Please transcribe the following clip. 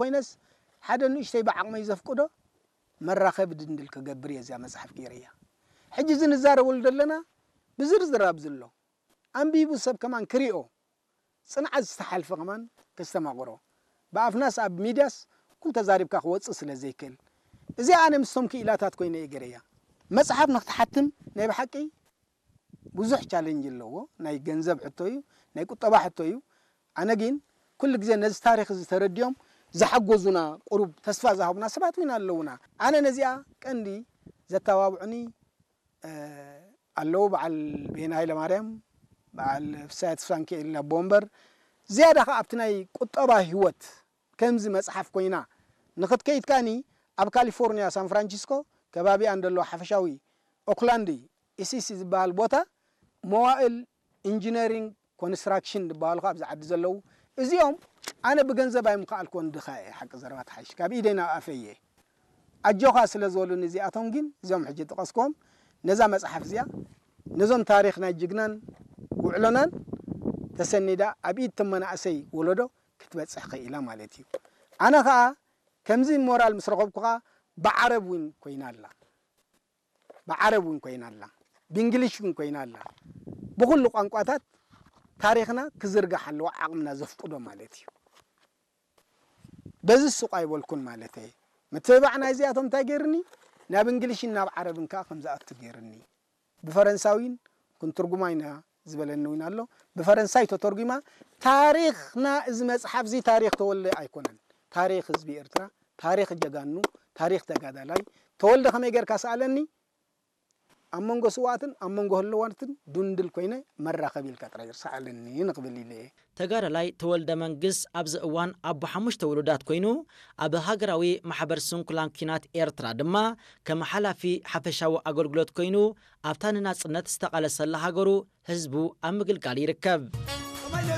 ኮይነስ ሓደ ንእሽተይ ብዓቕመይ ዘፍቅዶ መራኸቢ ድንድል ክገብር እየ እዚኣ መጽሓፍ ገይረያ። ሕጂ እዚ ንዛረበሉ ዘለና ብዝርዝር ኣብዚ ኣሎ። ኣንቢቡ ሰብ ከማን ክሪኦ፣ ጽንዓት ዝተሓልፈ ከማን ከስተማቕሮ። ብኣፍናስ ኣብ ሚድያስ ኩሉ ተዛሪብካ ክወጽእ ስለ ዘይክእል። እዚኣ ኣነ ምስቶም ክኢላታት ኮይነ እየ ገይረያ። መጽሓፍ ንክትሓትም ናይ ብሓቂ ብዙሕ ቻለንጅ ኣለዎ። ናይ ገንዘብ ሕቶ እዩ፣ ናይ ቁጠባ ሕቶ እዩ። ኣነ ግን ኩሉ ግዜ ነዚ ታሪኽ እዚ ተረዲኦም ዝሓገዙና፣ ቁሩብ ተስፋ ዝሃቡና ሰባት እውን ኣለውና። ኣነ ነዚኣ ቀንዲ ዘተባብዑኒ፣ እ፣ ኣለዉ። በዓል ቤና ሃይለማርያም፣ በዓል ፍስሃ ተስፋንኪኤል ኣቦ ወንበር። ዝያዳ ኸኣ ኣብቲ ናይ ቁጠባ ህይወት ከምዚ መጽሓፍ ኮይና ንኽትከይድ ከኣኒ ኣብ ካሊፎርኒያ ሳን ፍራንሲስኮ ከባቢኣ እንደሎ ሓፈሻዊ ኦክላንድ ኢሲሲ ዝበሃል ቦታ መዋእል ኢንጂነሪንግ ኮንስትራክሽን ዝበሃሉ ከኣ ኣብዚ ዓዲ ዘለዉ እዚኦም ኣነ ብገንዘብ ኣይምኸኣልኩዎን ድኻ እየ ሓቂ ዘረባ ተሓይሽ ካብ ኢደይ ናብ ኣፈይ እየ ኣጆኻ ስለ ዝበሉኒ እዚኣቶም ግን እዚኦም ሕጂ ጠቐስክዎም ነዛ መጽሓፍ እዚኣ ነዞም ታሪኽ ናይ ጅግናን ውዕሎናን ተሰኒዳ ኣብ ኢድ ተመናእሰይ ወለዶ ክትበጽሕ ኽኢላ ማለት እዩ ኣነ ኸኣ ከምዚ ሞራል ምስ ረኸብኩ ኸኣ ብዓረብ እውን ኮይና ኣላ ብዓረብ እውን ኮይና ኣላ ብእንግሊሽ እውን ኮይና ኣላ ብኹሉ ቋንቋታት ታሪኽና ክዝርጋሕ ኣለዎ ዓቕምና ዘፍቅዶ ማለት እዩ በዚ ሱቕ ኣይበልኩን ማለት እየ ምትብባዕ ናይዚኣቶም እንታይ ገይርኒ ናብ እንግሊሽን ናብ ዓረብን ከዓ ከም ዝኣቱ ገይርኒ ብፈረንሳዊን ክንትርጉማ ኢና ዝበለኒ እውን ኣሎ ብፈረንሳይ ተተርጉማ ታሪኽና እዚ መፅሓፍ እዚ ታሪኽ ተወልደ ኣይኮነን ታሪኽ ህዝቢ ኤርትራ ታሪኽ ጀጋኑ ታሪኽ ተጋዳላይ ተወልደ ከመይ ጌርካ ሰኣለኒ ኣብ መንጎ ስውኣትን ኣብ መንጎ ህልዋትን ድንድል ኮይነ መራኸቢ ኢልካ ጥራይ ርሰዓለኒ ንኽብል ኢለ እየ። ተጋዳላይ ተወልደ መንግስ ኣብዚ እዋን ኣቦ ሓሙሽተ ውሉዳት ኮይኑ ኣብ ሃገራዊ ማሕበር ስንኩላን ኲናት ኤርትራ ድማ ከም ሓላፊ ሓፈሻዊ ኣገልግሎት ኮይኑ ኣብታ ንናጽነት ዝተቓለሰላ ሃገሩ ህዝቡ ኣብ ምግልጋል ይርከብ።